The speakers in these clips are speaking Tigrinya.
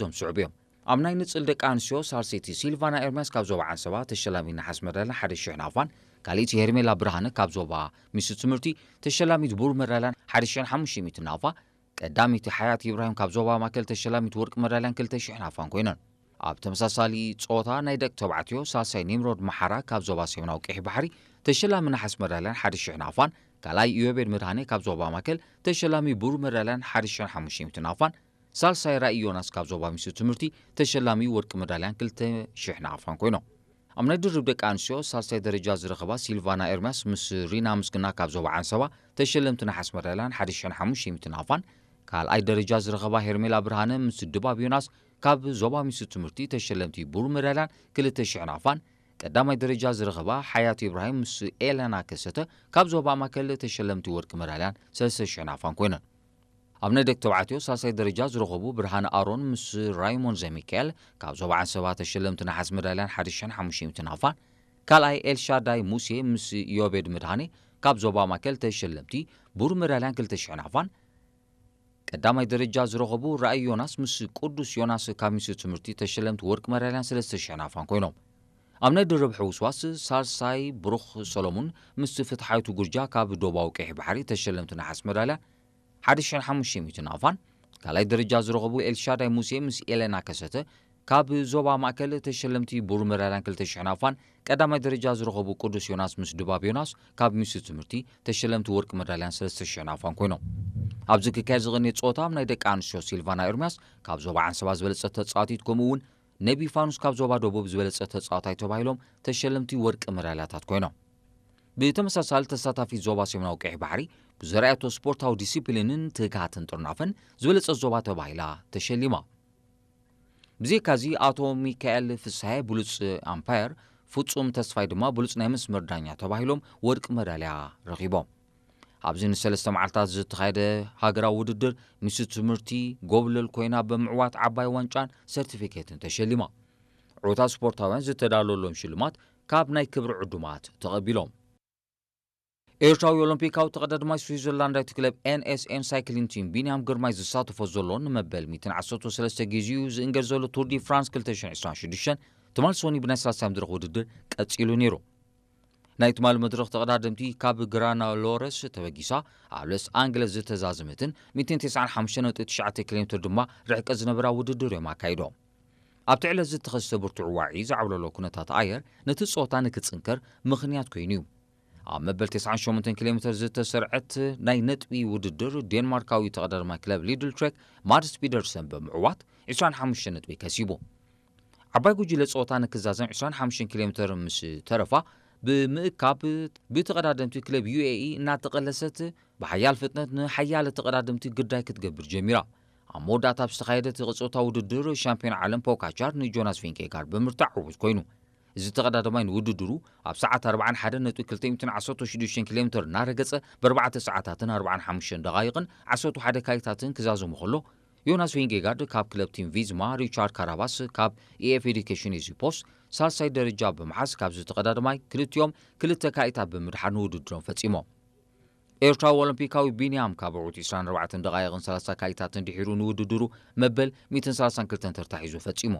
እዞም ስዑብ እዮም። ኣብ ናይ ንጽል ደቂ ኣንስትዮ ሳልሰይቲ ሲልቫና ኤርምያስ ካብ ዞባ ዓንሰባ ተሸላሚት ነሓስ መዳልያን ሓደ ሽሕ ናቕፋን፣ ካልኣይቲ ሄርሜላ ብርሃነ ካብ ዞባ ሚኒስትሪ ትምህርቲ ተሸላሚት ብሩር መዳልያን ሓደ ሽሕን ሓሙሽተ ሚእትን ናቕፋ፣ ቀዳመይቲ ሓያት ኢብራሂም ካብ ዞባ ማእከል ተሸላሚት ወርቂ መዳልያን ክልተ ሽሕ ናቕፋን ኮይነን። ኣብ ተመሳሳሊ ጾታ ናይ ደቂ ተባዕትዮ ሳልሳይ ኒምሮድ መሓራ ካብ ዞባ ሰሜናዊ ቀይሕ ባሕሪ ተሸላሚ ነሓስ መዳልያን ሓደ ሽሕ ናቕፋን፣ ካልኣይ ኢዮቤድ መድሃኔ ካብ ዞባ ማእከል ተሸላሚ ብሩር መዳልያን ሓደ ሽሕን ሓሙሽተ ሚእትን ናቕፋን፣ ሳልሳይ ራኢ ዮናስ ካብ ዞባ ሚኒስትሪ ትምህርቲ ተሸላሚ ወርቂ መዳልያን ክልተ ሽሕ ናቕፋን ኮይኖም። ኣብ ናይ ድርብ ደቂ ኣንስትዮ ሳልሳይ ደረጃ ዝረኸባ ሲልቫና ኤርምያስ ምስ ሪና ምስግና ካብ ዞባ ዓንሰባ ተሸለምቲ ነሓስ መዳልያን ሓደ ሽሕን ሓሙሽተ ሚእትን ናቕፋን፣ ካልኣይ ደረጃ ዝረኸባ ሄርሜላ ብርሃነ ምስ ድባብ ዮናስ ካብ ዞባ ሚኒስትሪ ትምህርቲ ተሸለምቲ ብሩር መዳልያን ክልተ ሽሕ ናቕፋን፣ ቀዳማይ ደረጃ ዝረኸባ ሓያት ኢብራሂም ምስ ኤለና ከሰተ ካብ ዞባ ማእከል ተሸለምቲ ወርቂ መዳልያን ሰለስተ ሽሕ ናቕፋን ኮይነን። ኣብ ናይ ደቂ ተባዕትዮ ሳልሳይ ደረጃ ዝረኸቡ ብርሃነ ኣሮን ምስ ራይሞን ዘሚካኤል ካብ ዞባ ዓንሰባ ተሸለምቲ ነሓስ መዳልያን ሓደ ሽሕን ሓሙሽተ ሚእትን ናቕፋን፣ ካልኣይ ኤልሻዳይ ሙሴ ምስ ዮቤድ መድሃኔ ካብ ዞባ ማእከል ተሸለምቲ ብሩር መዳልያን ክልተ ሽሕ ናቕፋን፣ ቀዳማይ ደረጃ ዝረኸቡ ራእይ ዮናስ ምስ ቅዱስ ዮናስ ካብ ሚኒስትሪ ትምህርቲ ተሸለምቲ ወርቂ መዳልያን ሰለስተ ሽሕ ናቕፋን ኮይኖም። ኣብ ናይ ድርብ ሕውስዋስ ሳልሳይ ብሩኽ ሰሎሙን ምስ ፍትሓዊቱ ጉርጃ ካብ ዶባዊ ቀይሕ ባሕሪ ተሸለምቲ ነሓስ መዳልያ ሓደ ሽሕን ሓሙሽተ ሚእትን ናቕፋን፣ ካልኣይ ደረጃ ዝረኸቡ ኤልሻዳይ ሙሴ ምስ ኤሌና ከሰተ ካብ ዞባ ማእከል ተሸለምቲ ብሩር መዳልያን ክልተ ሽሕ ናቕፋን፣ ቀዳማይ ደረጃ ዝረኸቡ ቅዱስ ዮናስ ምስ ድባብ ዮናስ ካብ ሚኒስትሪ ትምህርቲ ተሸለምቲ ወርቂ መዳልያን ሰለስተ ሽሕ ናቕፋን ኮይኖም። ኣብዚ ክካየድ ዝቐነየ ጸወታ ኣብ ናይ ደቂ ኣንስትዮ ሲልቫና ኤርምያስ ካብ ዞባ ዓንሰባ ዝበለጸት ተጻዋቲት፣ ከምኡ እውን ነቢ ፋኑስ ካብ ዞባ ደቡብ ዝበለጸ ተጻዋታይ ተባሂሎም ተሸለምቲ ወርቂ መዳልያታት ኮይኖም። ብተመሳሳሊ ተሳታፊት ዞባ ሰሜናዊ ቀይሕ ባሕሪ ብዘርኣየቶ ስፖርታዊ ዲሲፕሊንን ትግሃትን ጥርናፈን ዝበለጸት ዞባ ተባሂላ ተሸሊማ። ብዘይካዚ ኣቶ ሚካኤል ፍስሃየ ብሉጽ ኣምፓየር፣ ፍጹም ተስፋይ ድማ ብሉጽ ናይ መስመር ዳኛ ተባሂሎም ወርቂ መዳልያ ረኺቦም። ኣብዚ ንሰለስተ መዓልታት ዝተኻየደ ሃገራዊ ውድድር ሚኒስትሪ ትምህርቲ ጎብለል ኮይና ብምዕዋት ዓባይ ዋንጫን ሰርቲፊኬትን ተሸሊማ። ዕዉታት ስፖርታውያን ዝተዳለወሎም ሽልማት ካብ ናይ ክብሪ ዕዱማት ተቐቢሎም። ኤርትራዊ ኦሎምፒካዊ ተቐዳድማይ ስዊዘርላንዳዊት ክለብ ኤንኤስኤን ሳይክሊን ቲም ቢንያም ግርማይ ዝሳተፎ ዘሎ ንመበል ሚእትን ዓሰርተ ሰለስተ ግዜኡ ዝእንገድ ዘሎ ቱር ዲ ፍራንስ ክልተ ሽሕን ዕስራን ሽዱሽተን ትማል ሶኒ ብናይ ሰላሳይ መድረኽ ውድድር ቀጺሉ ነይሩ። ናይ ትማል መድረኽ ተቐዳደምቲ ካብ ግራናሎረስ ተበጊሳ ኣብ ሎስ ኣንገለስ ዝተዛዘመትን ሚእትን ተስዓን ሓሙሽተን ነጥቢ ትሽዓተ ኪሎ ሜትር ድማ ርሕቀት ዝነበራ ውድድር እዮም ኣካይዶም። ኣብቲ ዕለት ዝተኸስተ ብርቱዕ ዋዒ ዝዓብለሎ ኩነታት ኣየር ነቲ ጸወታ ንክጽንከር ምኽንያት ኮይኑ እዩ። ኣብ መበል ተስዓን ሸሞንተን ኪሎ ሜትር ዝተሰርዐት ናይ ነጥቢ ውድድር ዴንማርካዊ ተቐዳዳማይ ክለብ ሊድል ትሬክ ማድስ ፒደርሰን ብምዕዋት ዕስራን ሓሙሽተን ነጥቢ ከሲቡ። ዓባይ ጉጅለ ጸወታ ንክዛዘም ዕስራን ሓሙሽተን ኪሎ ሜትር ምስ ተረፋ ብምእካብ ብተቐዳደምቲ ክለብ ዩኤኢ እናተቐለሰት ብሓያል ፍጥነት ንሓያለ ተቐዳደምቲ ግዳይ ክትገብር ጀሚራ። ኣብ መወዳእታ ኣብ ዝተኻየደ እቲ ቅጽበታዊ ውድድር ሻምፒዮን ዓለም ፖካቻር ንጆናስ ቪንጌጋርድ ብምርታዕ ዕዉት ኮይኑ። እዚ ተቐዳዳማይ ንውድድሩ ኣብ ሰዓት ኣርባዓን ሓደን ነጥቢ ክልተ ሚእትን ዓሰርተ ሽዱሽተን ኪሎ ሜትር እናረገጸ ብኣርባዕተ ሰዓታትን ኣርባዓን ሓሙሽተን ደቓይቕን ዓሰርተ ሓደ ካይታትን ክዛዘሙ ከሎ፣ ዮናስ ቪንጌጋርድ ካብ ክለብ ቲም ቪዝማ፣ ሪቻርድ ካራባስ ካብ ኢኤፍ ኤዱኬሽን ኤዚ ፖስት ሳልሳይ ደረጃ ብምሓዝ ካብዚ ተቐዳዳማይ ክልቲኦም ክልተ ካይታት ብምድሓር ንውድድሮም ፈጺሞም። ኤርትራዊ ኦሎምፒካዊ ቢንያም ካብ ዕዉት ዕስራን ኣርባዕተን ደቓይቕን ሰላሳ ካይታትን ድሒሩ ንውድድሩ መበል ሚእትን ሰላሳን ክልተን ተርታ ሒዙ ፈጺሙ።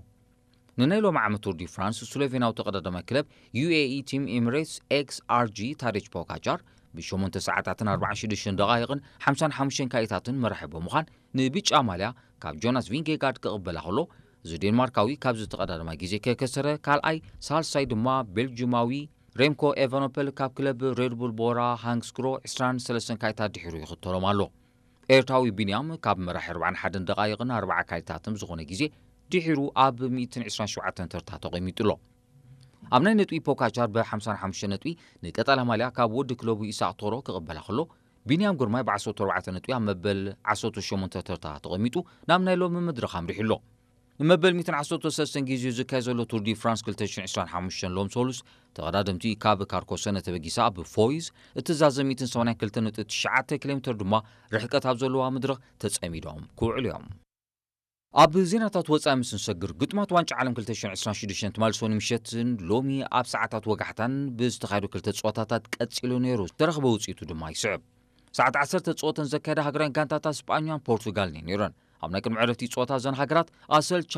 ንናይ ሎሚ ዓመት ቱር ዲ ፍራንስ ስሎቬንያዊ ተቐዳዳማይ ክለብ ዩኤኢ ቲም ኤምሬትስ ኤክስ ኣርጂ ታዴች ፖጋቻር ብሸሞንተ ሰዓታትን ኣርባዓን ሽዱሽተን ደቓይቕን ሓምሳን ሓሙሽተን ካይታትን መራሒ ብምዃን ንብጫ ማልያ ካብ ጆናስ ቪንጌጋርድ ክቕበላ ከሎ፣ እዚ ዴንማርካዊ ካብዚ ተቐዳዳማይ ግዜ ከከሰረ ካልኣይ፣ ሳልሳይ ድማ ቤልጅማዊ ሬምኮ ኤቨኖፐል ካብ ክለብ ሬድቡል ቦራ ሃንግስክሮ ዕስራን ሰለስተን ካይታት ድሒሩ ይኽተሎም ኣሎ። ኤርትራዊ ቢንያም ካብ መራሒ ኣርባዓን ሓደን ደቓይቕን ኣርባዓ ካይታትን ዝኾነ ግዜ ድሒሩ ኣብ ሚእትን ዕስራን ሸውዓተን ተርታ ተቐሚጡ ኣሎ። ኣብ ናይ ነጥቢ ፖካቻር ብ ሓምሳን ሓሙሽተን ነጥቢ ንቀጠላ ማልያ ካብ ወዲ ክለቡ ኢሳቕ ቶሮ ክቕበላ ከሎ፣ ቢንያም ግርማይ ብ ዓሰርተ ኣርባዕተ ነጥቢ ኣብ መበል ዓሰርተ ሸሞንተ ተርታ ተቐሚጡ ናብ ናይ ሎሚ መድረኽ ኣምሪሑ ኣሎ። ንመበል ሚእትን ዓሰርተ ሰለስተን ግዜኡ ዝካየድ ዘሎ ቱር ዲ ፍራንስ ክልተ ሽሕን ዕስራን ሓሙሽተን ሎም ሰሉስ ተቐዳደምቲ ካብ ካርኮሰነ ተበጊሳ ብፎይዝ እትዛዘም ሚእትን ሰማንያን ክልተን ነጥቢ ትሽዓተ ኪሎ ሜትር ድማ ርሕቀት ኣብ ዘለዋ መድረኽ ተጸሚዶም ክውዕሉ እዮም። ኣብ ዜናታት ወጻኢ ምስ ንሰግር፣ ግጥማት ዋንጫ ዓለም ክልተ ሽሕን ዕስራን ሽዱሽተን ትማል ሶኒ ምሸትን ሎሚ ኣብ ሰዓታት ወጋሕታን ብዝተኻየዱ ክልተ ጸወታታት ቀጺሉ ነይሩ። ዝተረኽበ ውጽኢቱ ድማ ይስዕብ። ሰዓት ዓሰርተ ጸወተን ዘካየዳ ሃገራውያን ጋንታታት ስጳኛን ፖርቱጋልን እየን ነይረን። ኣብ ናይ ቅድሚ ዕረፍቲ ጸወታ እዘን ሃገራት ኣሰልቻ